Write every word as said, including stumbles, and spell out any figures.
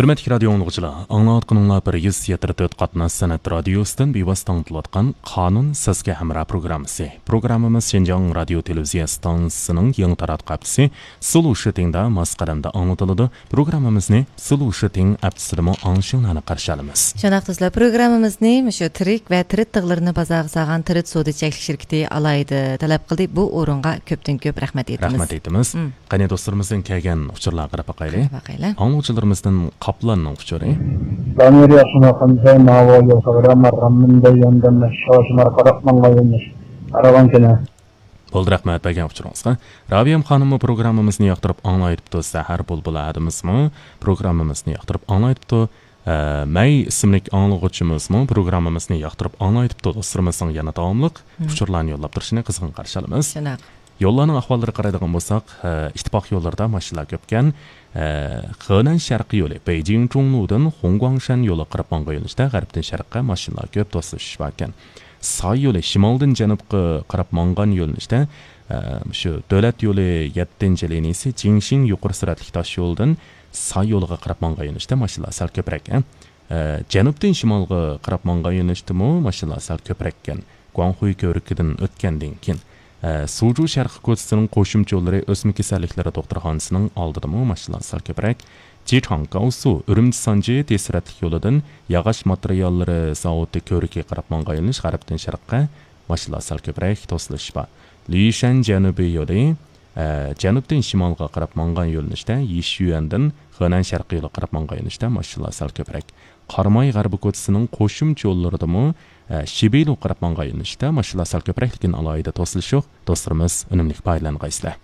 ھۆرمەتلىك رادىيو ئاڭلىغۇچىلار، ئاڭلاۋاتقىنىڭلار بىر يۈز يەتتە تۆت قاتناش سەنئەت رادىيوسىدىن بىۋاسىتە ئاڭلىتىلىۋاتقان قانۇن سىزگە ھەمراھ پروگراممىسى. پروگراممىمىز شىنجاڭ رادىيو تېلېۋىزىيە ئىستانسىسىنىڭ يېڭى تاراتقۇ ھەپتىسى سلۇشىتىڭدا ماس قەدەمدە ئاڭلىتىلىدۇ. پروگراممىمىزنى سلۇشىتىڭ ھەپتىسىدىمۇ ئاڭلىشىڭلارنى قارشى ئالىمىز. شۇنداق دوستلار، پروگراممىمىزنى مۇشۇ تىرىك ۋە تىرىت تىغلىرىنى بازارغا سالغان تىرىت سودا چەكلىك شىركىتى ئالاھىدە تەلەپ قىلدى. بۇ ئورۇنغا كۆپتىن كۆپ رەھمەت ئېيتىمىز. رەھمەت ئېيتىمىز. مم. قېنى دوستلىرىمىزدىن كەلگەن ئۇچۇرلارغا قاراپ باقايلى. قاراپ باقايلى. ئاڭلىغۇچىلىرىمىزدىن قاپلاننىڭ ئۇچۇرى. دانىر ياخشىمۇ قانداي ماۋۇ يوق رامار راممىندە ياندىن شاشمار قاراپ ماڭغان يولمۇش. ئارىغان كېنە. بولدى، رەھمەت بەرگەن ئۇچۇرىڭىزغا. رابىيەم خانىممۇ پروگراممىمىزنى ياقتۇرۇپ ئاڭلايتىپتۇ. سەھەر بۇلبۇلى ھەدىمىزمۇ پروگراممىمىزنى ياقتۇرۇپ ئاڭلايتىپتۇ. ئە، مەي ئىسىملىك ئاڭلىغۇچىمىزمۇ پروگراممىمىزنى ياقتۇرۇپ ئاڭلايتىپتۇ. دوستلىرىمىزنىڭ يەنە داۋاملىق مم. ئۇچۇرلارنى يوللاپ تۇرۇشىنى قىزغىن قارشى ئالىمىز. شۇنداق. يوللارنىڭ ئەھۋاللىرىغا قارايدىغان بولساق، ئە، ئىتتىپاق يوللىرىدا ماشىنىلار كۆپكەن. ئە، خېنەن شەرقىي يولى بېيجىڭ جۇڭلۇدىن خۇڭگۇاڭشەن يولىغا قاراپ ماڭغان يۆنىلىشتە غەربتىن شەرققە ماشىنىلار كۆپ توسۇلۇش باركەن. ساي يولى شىمالدىن جەنۇبقا قاراپ ماڭغان يۆنىلىشتە، ئە، شۇ دۆلەت يولى يەتتىنچى لىنىيىسى جىڭشىڭ يۇقىرى سۈرئەتلىك تاش يولىدىن ساي يولىغا قاراپ ماڭغان يۆنىلىشتە ماشىنىلار سەل كۆپرەك. ئە، جەنۇبتىن شىمالغا قاراپ ماڭغان يۆنىلىشتىمۇ ماشىنىلار سەل كۆپرەككەن. گۇاڭخۇي كۆۋرۈكىدىن ئۆتكەندىن كېيىن، ئە، سۇجۇ شەرقىي كوچىسىنىڭ قوشۇمچە يوللىرى ئۆسمە كېسەللىكلىرى دوختۇرخانىسىنىڭ ئالدىدىمۇ ماشىنىلار سەل كۆپرەك. جىچاڭ گاۋسۇ ئۈرۈمچى سانجى تېز سۈرئەتلىك يولىدىن ياغاچ ماتېرىياللىرى زاۋۇتى كۆۋرۈكىگە قاراپ ماڭغان يۆنىلىش غەربتىن شەرققە ماشىنىلار سەل كۆپرەك توسۇلۇش بار. لىشەن جەنۇبىي يولى، ئە، جەنۇبتىن شىمالغا قاراپ ماڭغان يۆنىلىشتە يىشيۈەندىن خېنەن شەرقىي يولىغا قاراپ ماڭغان يۆنىلىشتە ماشىنىلار سەل كۆپرەك. قاراماي غەربىي كوچىسىنىڭ قوشۇمچە يوللىرىدىمۇ، ئە، شىبىلۇغا قاراپ ماڭغان يۆنىلىشتە ماشىنىلار سەل كۆپرەك، لېكىن ئالاھىدە توسۇلۇش يوق. دوستلىرىمىز ئۈنۈملۈك پايدىلانغايسىلەر.